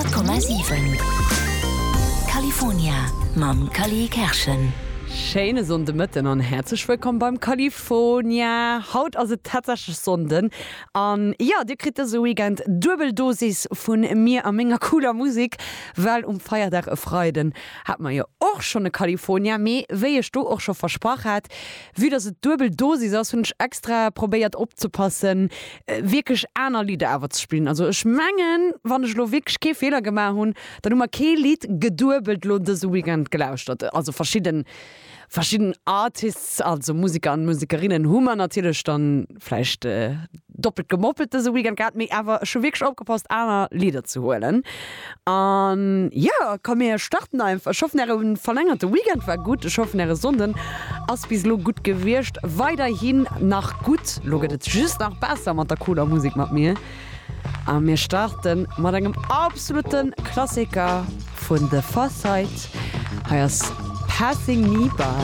100,7 California mam Cally Kerschen. Schéine Sonndemëtten an häerzlech wëllkomm beim California. Haut ass et tatsächlech Sonnden an jo, dir kritt dëse Weekend duebel Dosis vun mir a menger cooler Musek, well um Feierdag e Freiden hat mer jo och schonn e California. Mee wéi ech do och scho versprach hat, Vue dass et duebel Dosis ass, hunn ech extra probéiert opzepassen wierklech aner Lidder awer ze spillen. Also ech mengen, wann ech elo wierklech kee Feeler gemaach hunn, dann hu mer kee Lidd geduebelt elo dëse Weekend gelauschtert. Also verschidden, verschidden Artists, also Museker an Musekerinnen hu mer natierlech dann vläicht doppelt gemoppelt dëse Weekend gehat, mee awer ech hu wierklech opgepasst aner Lidder ze huelen. An jo, komm mir starten einfach. Ech hoffen äre verlängerte Weekend war gutt. Ech hoffen äre Sonnden ass bis elo gutt gewiescht. Weiderhin nach gutt. Lo gëtt et just nach besser mat der cooler Musek mat mir. A mir starten mat engem absolute Klassiker vun The Pharcyde. Hei ass Passing Me By.